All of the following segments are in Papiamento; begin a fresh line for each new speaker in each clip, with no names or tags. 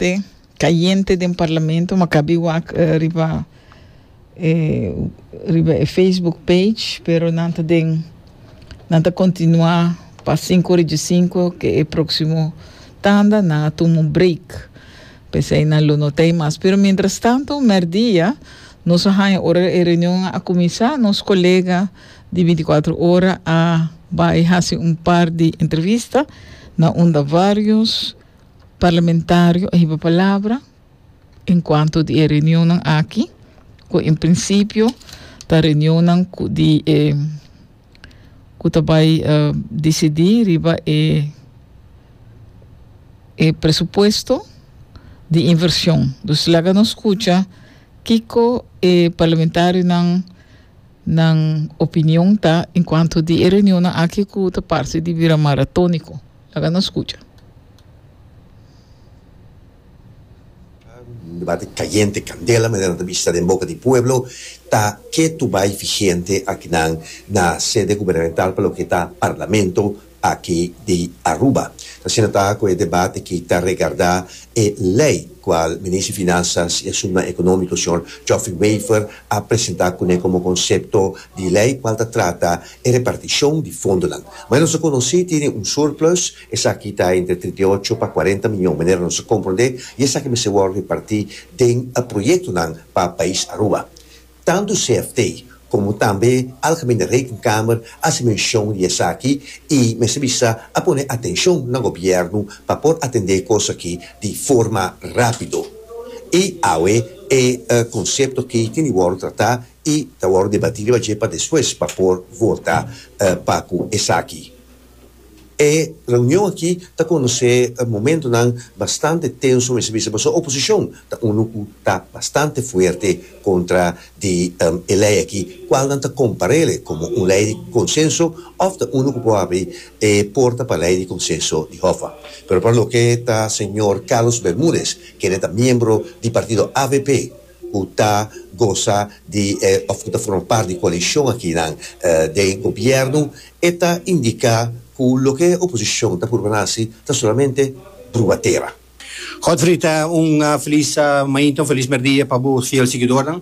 Te cayente den parlamento ma cabi wak riba e riba e Facebook page pero nan ta den nan ta continua pa cinco ora djescinco ke e proximo tanda nan a tuma un break pesey nan lo no ta ey mas pero mientras tanto merdia nos a haya ora e reunion a cuminsa nos colega di 24 ora a bay haci un par di entrevista na unda varios Parlamentario a hiba palabra en cuanto di e reunionnan aki, cu en principio ta reunionnan cu di e cu ta bay dicidi riba e e presupuesto di inversion. Dus laga nos scucha kico e parlamentarionan nan opinion ta en cuanto di e reunionnan aki cu ta parce di bira maratonico. Laga nos skucha.
Un debate cayente, candela, manera nan ta bisa den boca di pueblo, ta ketu bay vigente akinan na sede gubernamental pa loke ta Parlamento aki di Aruba. Asina ta cu e debate aki ta regarda e ley cual Minister di Finanzas y Asuntonan Economico señor Geoffrey Wever a presenta cune como concepto di ley cual ta trata e repartishon di fondonan. Manera nos a konosí tene un surplus, esaki ta entre 38 pa 40 miyon, manera nos a komprondé, i esaki mester wòrdu repartí den proyektonan pa pais Aruba. Tantu CFT komo tambe Algemene Rekenkamer a hasi menshon di esaki i mester bisa a pone atenshon na gobièrnu pa por atendé e kos aki di forma rápido. I awe e konsepto aki tin di wòrdu tratá i ta wòrdu debatí riba dje pa despues pa por vota pa ku esaki. E reunion aki ta konosé momentonan bastante tenso mester bisa pasobra oposishon ta unu ku ta bastante fuerte kontra di e lei aki kual nan ta kompar'é komo un lei di konsenso òf ta unu ku por habri e porta pa lei di konsenso di Hoffa. Pero pa loke ta señor Carlos Bermudez kende ta miembro di partido avp, ku ta gosa di e òf ku ta forma parti di koalishon akinan den gobièrnu, e ta indiká ku loke oposishon ta purba na hasi ta solamente bruba tera.
Godfried, un felis mainta, un felis merdia pa bo fiel siguidornan.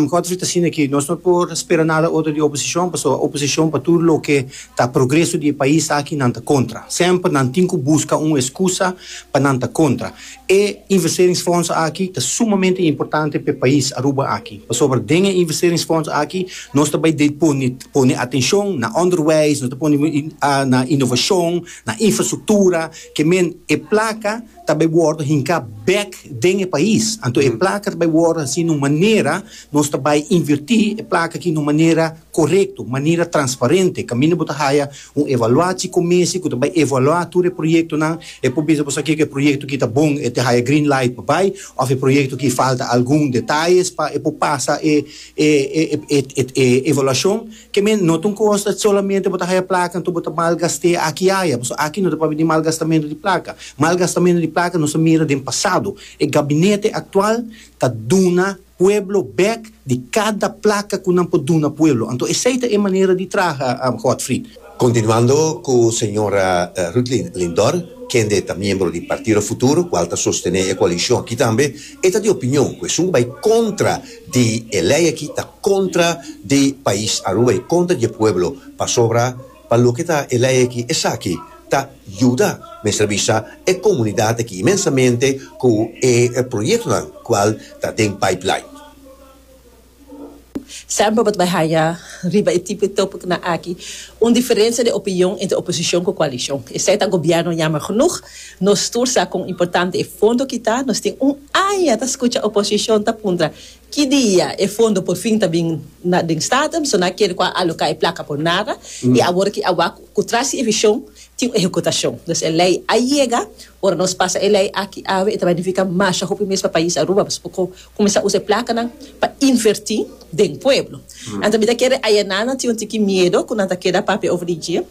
Godfried, asina ki nos no por spera nada otro di oposishon, pasobra oposishon pa tur loke ta progreso di e pais aki nan ta kontra. Semper nan tin ku buska un eskusa pa nan ta kontra. E investeringsfonds aki ta sumamente importante p'e pais Aruba aki, pasobra den e investeringsfonds aki nos ta bai de pone pone atencion na onderwijs, nos ta pone na innovacion, na infrastructura, ke men e placa ta bai wordo hinca bek den e pais. Anto e placa ta bai wordo haci na un manera, nos ta bai inverti e placa aki na un manera korekto, manera transparente, kaminda bo ta haya un evaluatie commissie ku ta bai evaluá tur e proyektonan, e por bisa bo sa kiko e proyekto aki ta bon, e ta haya green light pa bai, òf e proyekto aki falta algun detayes pa e por pasa e e e e evaluashon. Ke men no ta un kos dat solamente bo ta haya plaka anto bo ta malgast'é aki aya, pasobra aki no ta papia di malgastamentu di plaka. Malgastamentu di plaka nos a mira den pasado. E gabinete aktual ta duna pueblo bek di kada plaka ku nan por duna pueblo. Anto esei ta e manera di traha, Godfried.
Kontinuando ku señora Rutlin Lindor, kende ta miembro di Partido Futuro, kual ta sostené e koalishon aki tambe, e ta di opinion ku esun ku bai kontra di e lei aki ta kontra di pais Aruba i kontra di e pueblo, pasobra pa loke ta e lei aki esaki ta yuda, mester bisa, e komunidat aki inmensamente ku e proyektonan kual ta den pipeline.
Semper bo ta bai haya riba e tipo di topicnan aki un diferencia di opinion entre oposicion cu coalicion. Esey ta gobierno jammer genoeg. Nos tur sa con importante e fondo aki ta. Nos tin un aña ta scucha oposicion ta puntra ki dia e fondo por fin ta bin na den Staten. So nan a kere cu a aloca e placa por nada y awor aki a wak cu tras di e vision tin un ehecutacion. Dus e ley a yega. Ora nos pasa e ley aki awe e ta bai nifica masha hopi mes pa pais Aruba pasobra por Kuminsá usa e plakanan pa invertí den pueblo. Anto mi ta kere ayaná nan tin un tiki miedo ku nan ta keda papia over di dje.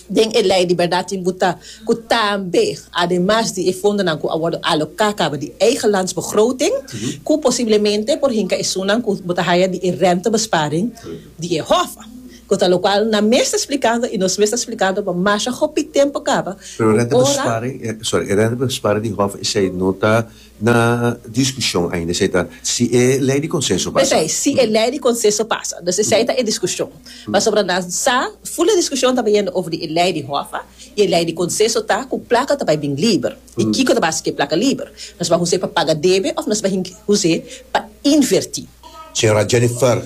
Den e lei di bèrdat tin butá ku tambe ademas di e fondonan ku a wòrdu aloká kaba di eigen landsbegroting ku posiblemente por hinka esunnan ku bo ta haya di e rentebesparing di e hòf. Ku ta lokual nan mes ta splikando i nos mes ta splikando pa masha hopi tempu kaba
Pero
ku ora.
rentebesparing, sorry, e rentebesparing di Hof esei no ta na diskushon ainda, esei ta si e lei di konsenso pasa.
P'esei, si e lei di konsenso pasa. Dus esei ta e diskushon. Pasobra nan sa, ful e diskushon ta bayendo over di e lei di Hof i e lei di konsenso ta ku plaka ta bai bin liber. I kiko ta basa ku e plaka liber? Nos bai us'é pa paga debe òf nos bai us'é pa invertí?
Señora Jennifer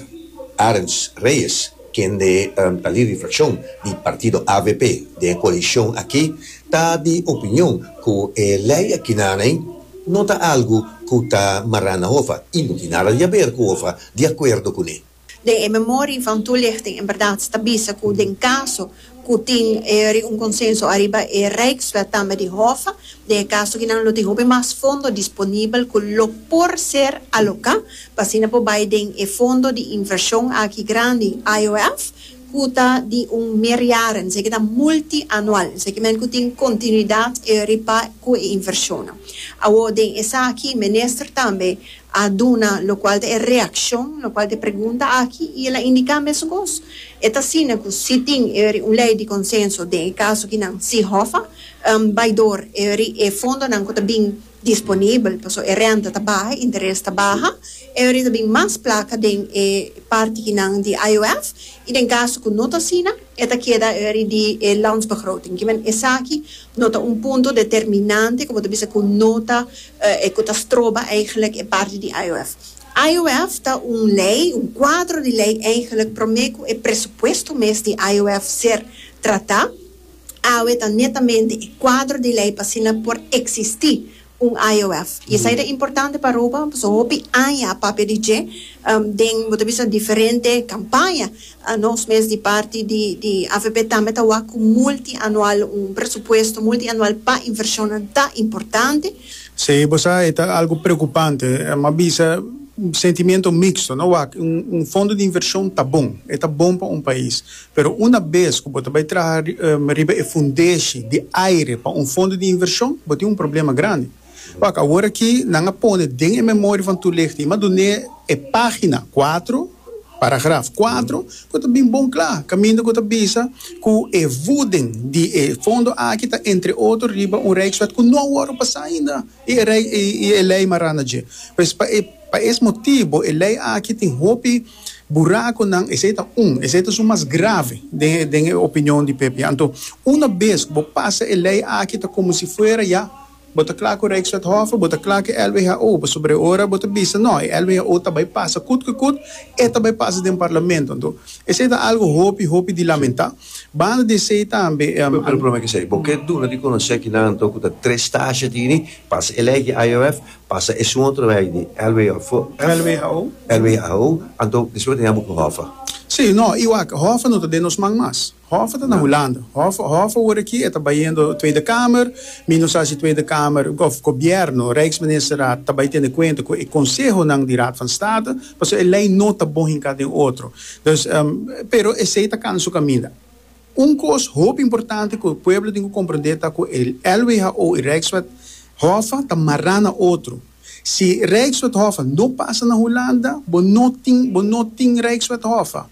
Arends Reyes, kende ta lider di fraccion di partido avp den e coalicion aki, ta di opinion cu e ley akinaney no ta algo cu ta mara na Hofa y no tin nada di haber cu Hofa di acuerdo cune.
Den e memorie van toelichting inderdaad ta bisa cu den caso cu tin un consenso ariba e Rijkswet tambe di Hofa, den e caso kinan lo tin hopi mas fondo disponibel cu lo por ser aloca pa asina por bay den e fondo di inversion aki grandi, IOF, cu ta di un meerjaren, esaki ta multi-anual, esaki men cu tin continuidad riba cu e inversionnan. Awor den esaki minister tambe a duna locual ta e reaccion, locual ta e pregunta aki y el a indica mesun cos. E ta asina cu si tin eri un ley di consenso den e caso kinan si Hoffa bay door eri e fondonan cu ta bin disponibel pasobra e renta ta baha, e interes ta baha, eri ta bin mas placa den e parti kinan di IOF y den caso cu no ta asina e ta keda eri di e landsbegroting. Kimen esaki no ta un punto determinante cu bo ta bisa cu no ta E ku ta stroba eigenlijk e parti di IOF. IOF ta un lei, un kuadro di lei eigenlijk promé ku e presupuesto mes di IOF ser tratá. Awe ta netamente e kuadro di lei pa asina por eksistí un IOF. I esei ta importante pa Aruba pasobra hopi aña a papia di dje den bo ta bisa diferente kampaña. Nos mes di parti di di avp tambe ta wak ku multianual, un presupuesto multianual pa invershonnan ta importante.
Sí, bo sa e ta algu preokupante. M'a bisa un sentimiento mixto, no? Wak, un un fondo di invershon ta bon, e ta bon pa un pais. Pero una bes ku bo ta bai traha riba e fundeshi di aire pa un fondo di invershon, bo tin un problema grandi. Wak, awor aki nan a pone den e memoria van toelichting, m'a dun'é e pagina cuatro, paragraf cuatro, ku ta bin bon kla, kaminda ku ta bisa ku e voeding di e fondo aki ta entre otro riba un Rijkswet ku no a wòrdu pasá ainda i e rei i e lei mará na dje. Pues pa e pa es motibo e lei aki tin hopi burakonan, esei ta un, esei ta su mas grave den den e opinion di PP. Anto una bes ku bo pasa e lei aki ta komo si fuera ya Bo ta kla ku Rijkswet Hoffe, bo ta kla ku e LWHO, pasobra e ora bo ta bisa no, e LWHO ta bai pasa kut ku kut, e ta bai pasa den parlamento. Anto, esei ta algu hopi, hopi di lamentá. Banda di esei tambe.
Pero prome ku esei, bo ke duna di konosé kinan anto ku ta tres stasha tini, pasa e lei di IOF, pasa esun otro lei di LWHO,
LWHO.
LWHO, anto despues bo ta yama ku Hoffe.
Sí, no, i wak, Hoffe no ta den nos man mas. Hof ta na Hulanda. Hof, Hof awor aki e ta bayendo Tweede Kamer. Mi no sa si Tweede Kamer of Gobierno, Rijksministerraad, ta bay tene cuenta cu e consehonan di Raad van State, pasobra e ley no ta bon hinca den otro. Dus, pero esey ta cana su caminda. Un cos hopi importante cu e pueblo tin cu comprende ta cu e LWHO y Rijkswet Hof ta mara na otro. Si Rijkswet Hof no pasa na Hulanda, bo no tin, bo no tin Rijkswet Hof.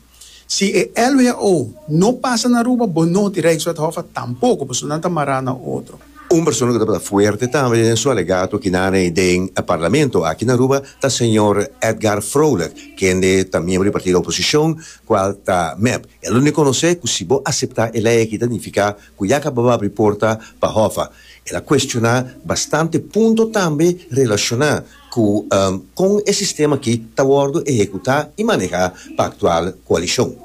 Si e LWO no pasa na Aruba, bo no tin Rijkswet Hoffa tampoco, pasobra nan ta mará na otro.
Un persona cu tabata fuerte tambe den su alegato kinane den e Parlamento aki na Aruba ta señor Edgar Vrolijk, kende ta miembro di partido oposicion, cual ta mep. E lo reconoce cu si bo acepta e ley aki ta nifica cu ya caba bo abri porta pa Hoffa. El a cuestiona bastante punto tambe relaciona Ku kon e sistema aki ta wòrdu ehekutá i manehá pa aktual koalishon.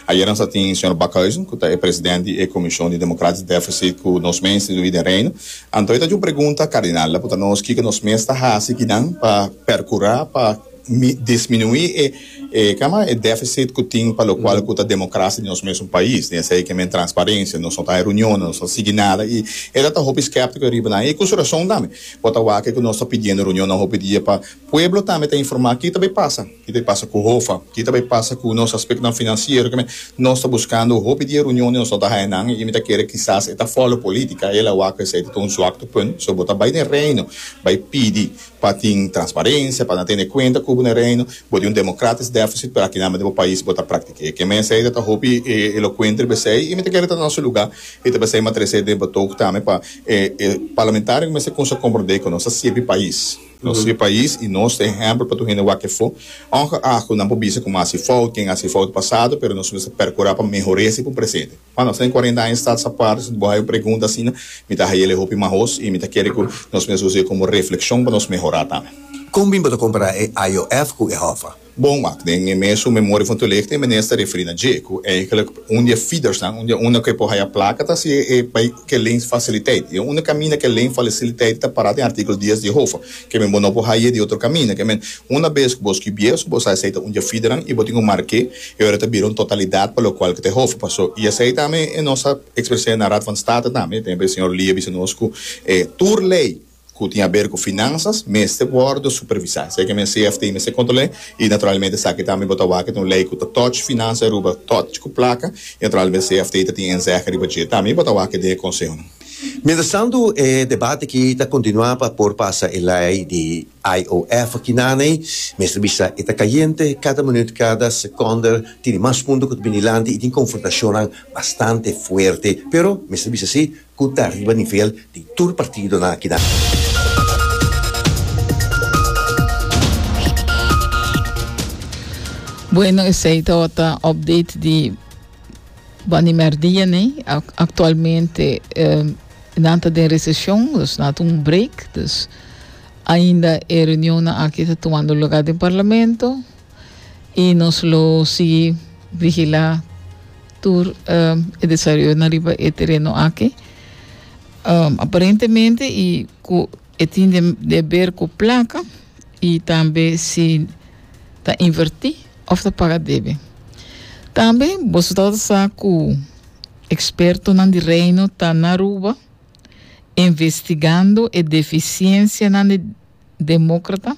Ayera nos a tin señor Bakhuizen, ku ta e president di e Komishon di Democratisch Deficit ku nos mes instituí den Reino. Anto e ta haci un pregunta kardinal, la puntra nos kiko nos mes ta hasi kinan pa perkurá pa disminuí e e kama e deficit ku tin pa lokual ku ta demokrasia di nos mesun pais. Den esei ke men transparensia, nos no ta haña reunionnan, nos no ta sigui nada i e ta ta hopi skèptiko riba nan i ku su rason tambe. Bo ta wak ku nos ta pidiendo reunionnan hopi dia pa pueblo tambe ta informá ki ta bai pasa, ki ta bai pasa ku Hofa, ki ta bai pasa ku nos aspektonan finansiero. Kimen nos ta buskando hopi dia reunion i nos no ta haña nan i mi ta kere kisas e ta follow politica. El a wak ku esei ta un zwaktepunt. So bo ta bai den Reino bai pidi pa tin transparencia, pa nan tene cuenta cu bo na Reino, bo tin un democratisch. deficit pero aki nan den bo pais bo ta praktik'é. Ke men esei ta ta hopi elokuente riba esei i mi ta kere ta na su lugá i ta p'esei mi a trese den betoog tambe pa e parlamentario mester kumsa komprondé ku nos ta sirbi pais. Nos sirbi pais i nos ta ehèmpel pa tur hende wak efo. Ongeacht ku nan por bisa ku mi a hasi fout, ken a hasi fout pasado pero nos mester perkurá pa mehor'é esei pa un presente. Juan, nos ta den cuarenta aña status apart, si bo haya un pregunta asina, mi ta hayele hopi mahos y mi ta kere cu nos mester usa e como reflexion pa nos mehora tambe.
Con bin bo ta compara e IOF cu e Hoffa?
Bon, wak, den e mesun memoria van toelichting e minister a referi na dje cu eigenlijk un di e feedersnan, un di e unda cu e por haya placa ta si e bay cu e leenfaciliteit. Y e unda caminda cu e leenfaciliteit ta para den articulo dies di e Hoffa. Ke men bo no por haye di otro kaminda. Ke men una bes ku bo skibié so bo sa esei ta un dje fidernan i bo tin ku mark'é e ora ta bira un totalidat pa lokual ku ta e hof. Paso i esei tambe e nos a ekspres'é na Raad van State tambe. Tempu e señor Lee a bisa nos ku e tur lei ku tin aber ku finansas mester wòrdu supervisá. Esei ke men CFT mester kontrol'é i naturalmente esaki tambe bo ta wak e ta un lei ku ta touch finansa Aruba, touch ku plaka i naturalmente CFT ta tin inzege riba dje tambe i bo ta wak e den e konsehonan.
Mientras tanto e debate aki ta continua pa por pasa e ley di IOF aki naney. Mester bisa e ta cayente, cada minuut, cada seconde tini mas punto cu ta bini dilanti y tin confrontacionnan bastante fuerte. Pero mester bisa si cu ta riba nivel di tur partidonan aki nan.
Bueno esey tabata update di. Bani merdia nei, actualmente nan ta den recesion, dus nan ta un break, dus ainda e reunionnan aki ta tumando lugar den parlamento y nos lo sigui vigila tur e desaroyonan riba e tereno aki. Aparentemente y cu e tin de ber cu placa y tambe si ta inverti of ta paga debe. Tambe boso tabata sa cu expertonan di Reino ta na Aruba investigando e deficiencianan di democrata?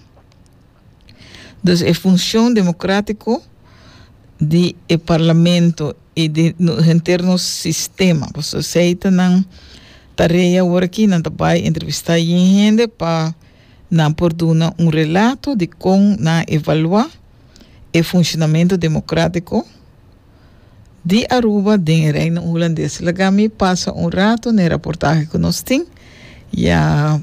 Dus e funcion democratico di e parlamento y di henter nos sistema. Pasobra esey ta nan tarea awor aki, nan ta bay entrevista yen hende pa Nan por duna un relato di kon nan a evaluá e funshonamentu demokratiko di Aruba den e Reino Hulandes. Laga mi pasa un rato na e raportahe ku nos tin, ya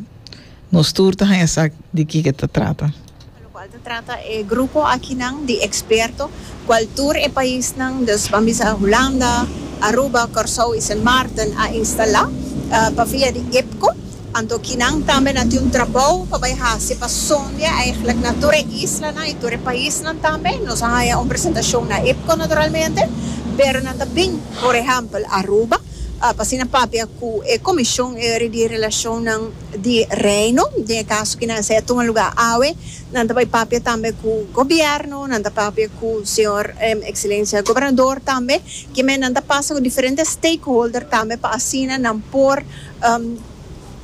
nos tur ta haña sa di kiko ta trata.
Pa lokual ta trata e grupo akinan di eksperto kual tur e paisnan, dus ban bisa Hulanda, Aruba, Kòrsou i Sint Maarten a instalá pa via di IPCO. Anto kinan tambe nan tin un trabou pa bai hasi pa sondia eigenlijk na tur e islanan i tur e paisnan tambe. Nos a haya un presentashon na IPCO naturalmente, pero nan ta bin por ehèmpel Aruba pa asina papia ku e komishon eri di relashonnan di Reino. Den e kaso kinan esei a tuma lugá awe, nan ta bai papia tambe ku gobièrnu, nan ta papia ku señor Ekselensia Gobernador tambe. Kimen nan ta pasa ku diferente stakeholder tambe pa asina nan por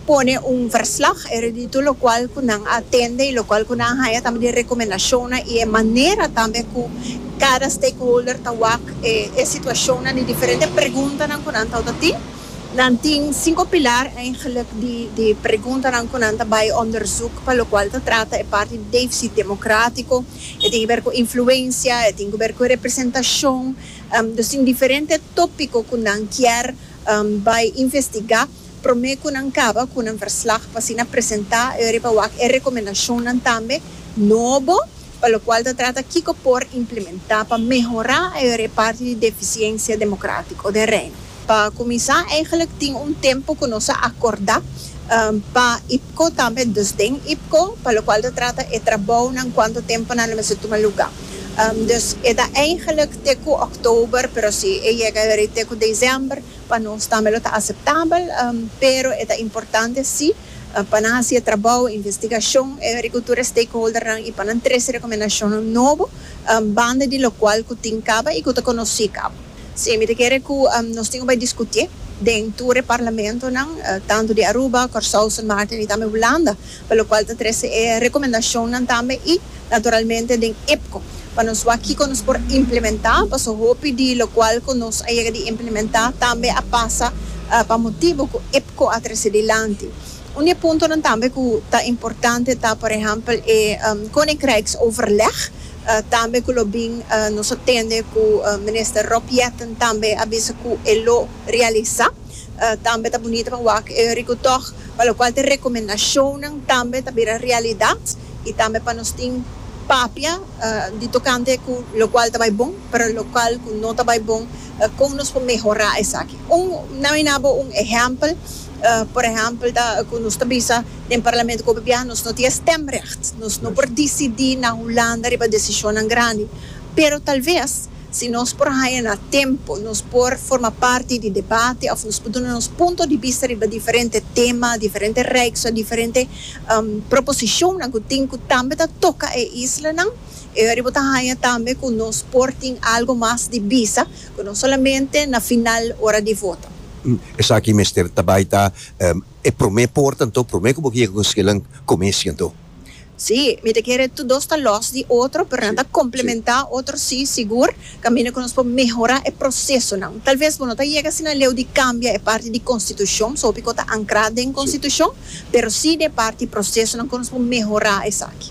pone un verslag e di tur locual cu nan a tende y locual cu nan a haya tambe di recomendacionnan y e manera tambe cu cada stakeholder ta wak e situacionnan di diferente preguntanan cu nan tabata tin. Nan tin cinco pilar eigenlijk di di preguntanan cu nan ta bay onderzoek pa locual ta trata e parti di deficit democratico, e tin ke ber cu influencia, e tin ke ber cu representacion, dus tin diferente topico cu nan kier Bai investigá promé ku nan kaba ku nan verslag pa asina presentá e riba wak e rekomendashonnan tambe nobo pa lokual ta trata kiko por implementá pa mehorá e e parti di defisiensia demokratiko den Reino. Pa kuminsá eigenlijk tin un tempu ku nos a akordá pa IPKO tambe, dus den IPKO pa lokual ta trata e trabounan kuantu tempu nan lo mester tuma lugá. Dus e ta eigenlijk te ku òktober, pero si e yega eri te ku desèmber, pa nos tambe lo ta aseptabel. Pero e ta importante si pa nan hasi e trabou, investigashon eri ku tur e stakeholdernan i pa nan trese rekomendashonnan nobo banda di lokual ku tin kaba i ku ta konosí kaba. Sí, mi ta kere ku nos tin ku bai diskutié den tur e parlamentonan, tantu di Aruba, Kòrsou, Sint Maarten i tambe Hulanda, pa lokual ta trese e rekomendashonnan tambe i naturalmente den IPCO pa nos wak kiko nos por implementá, paso hopi di lokual ku nos a yega di implementá tambe a pasa pa motibu ku IPCO a trese dilanti. Un di e puntonan tambe ku ta importante ta por ehèmpel e Koninkrijksoverleg. Tambe ku lo bin nos a tende ku Minister Rob Jetten tambe a bisa ku e lo realisá. Tambe ta bunita pa wak e riku tòg pa lokual ta e rekomendashonnan tambe ta bira realidat i tambe pa nos tin papia di tokante ku lokual ta bai bon pero lokual ku no ta bai bon kon nos por mehorá esaki. Un nan mi nabo un ehèmpel por ehèmpel ta ku nos ta bisa den parlamento ku hopi biaha nos no tin e stemrecht nos no por disidí na Hulanda riba desishonnan grandi pero talves Si nos por haña na tempu, nos por forma parti di debate òf nos por duna nos punto di bista riba diferente tema, diferente rijkswet, diferente proposishonnan ku tin ku tambe ta toka e islanan. E ora bo ta haña tambe ku nos por tin algu mas di bisa ku no solamente na final ora di vota.
Esaki mester ta bai ta e promé porta anto, promé ku bo yega ku skillen commissie anto.
Sí, mi ta kere tur dos ta los di otro, pero nan ta komplementá otro sí, sigur, kaminda ku nos por mehorá e prosesonan. Tal ves bo no ta yega asina leu di kambia e parti di konstitushon, so hopi ku ta ankrá den konstitushon, pero sí den e parti prosesonan ku nos por mehorá esaki.